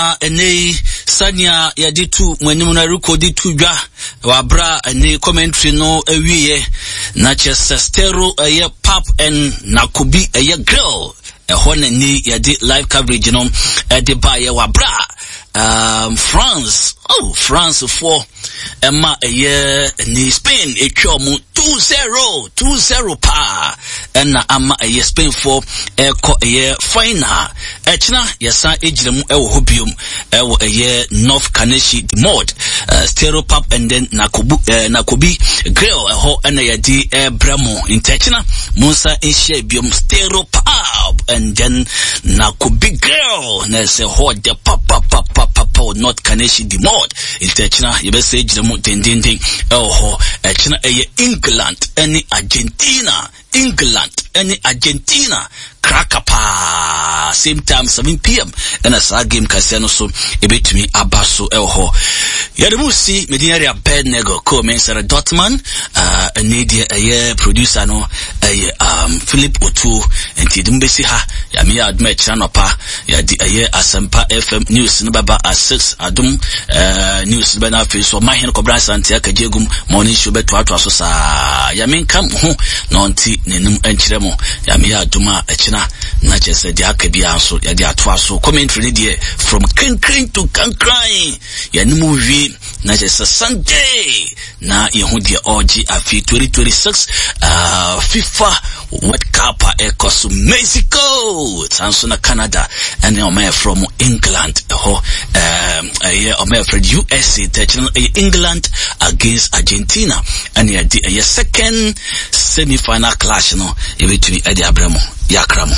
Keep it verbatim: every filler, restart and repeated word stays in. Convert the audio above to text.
Na ɛnɛ yi, sɛnea yɛde tu mo anim no, ɛrekɔdi to dwa wɔ abere a ɛne commentary no awieɛ, na kyerɛ sɛ Stereo ɛyɛ Pub and Nakobi ɛyɛ Grill ɛhɔ na ni yɛde live coverage no ɛde baeɛ wɔ abere a um, France, oh, France foɔ ɛma ɛyɛ ne Spain etwa ɔmo two zero, two zero paa, ɛna ama ɛyɛ Spain foɔ ɛkɔ ɛyɛ final. Ɛkyina yɛsan egyina mu ɛwɔ hɔ biom, ɛwɔ ɛyɛ North Kaneshie Mode, uh, Stereo Pub and then Nakobu, uh, Nakobi Grill ɛhɔ ɛna yɛde ɛbrɛ mo. Nti ɛkyina mo nsa nhyia biom, Stereo Pub and then Nakobi Grill, na ɛsɛ hɔ de papapapapa, North Kaneshie Mode. Nti ɛkyina yɛbɛsɛ gyina mu dendenden ɛwɔ hɔ. Ɛkyina ɛyɛ England ɛne Argentina, England ɛne Argentina kraka paa, same time, seven p m, ɛna saa game kɛseɛ no so ɛbɛtumi aba so ɛwɔ hɔ. Yɛde mu si medin yɛde Abednego ko mensɛre Dotman, ɛne deɛ ɛyɛ producer no ɛyɛ um, Philip Otuo. Nti yɛde mu bɛsi ha. Yame yɛ adom, ɛkyerɛ nɔpa yɛde ɛyɛ Asɛmpa F M news no bɛba at six, Adom uh, news no bɛna, afei so ɔmahene Kɔbra Asante akagye agum morning show bɛtoatoa so saa. Yame nka mo ho na ɔnte n'anim nkyerɛ mo. Yame yɛ adom a, ɛkyena na kyerɛ sɛ deɛ aka biara nso yɛde atoa so. Commentary no deɛ, from Krenkren to Kankran, yɛne mu wie, na kyerɛ sɛ Sunday na yɛho deɛ ɔregye afe twenty twenty-six uh, FIFA World Cup a ɛkɔ so Mexico, saa nso na Canada ɛne ɔma yɛfrɛ mo England ɛhɔ, ɛyɛ ɔma yɛfrɛ U S A. Tɛkyerɛ no ɛyɛ England against Argentina, ɛne yɛde ɛyɛ second semi final clash no yɛbɛtumi ɛde abrɛ mo. Yɛakra mo.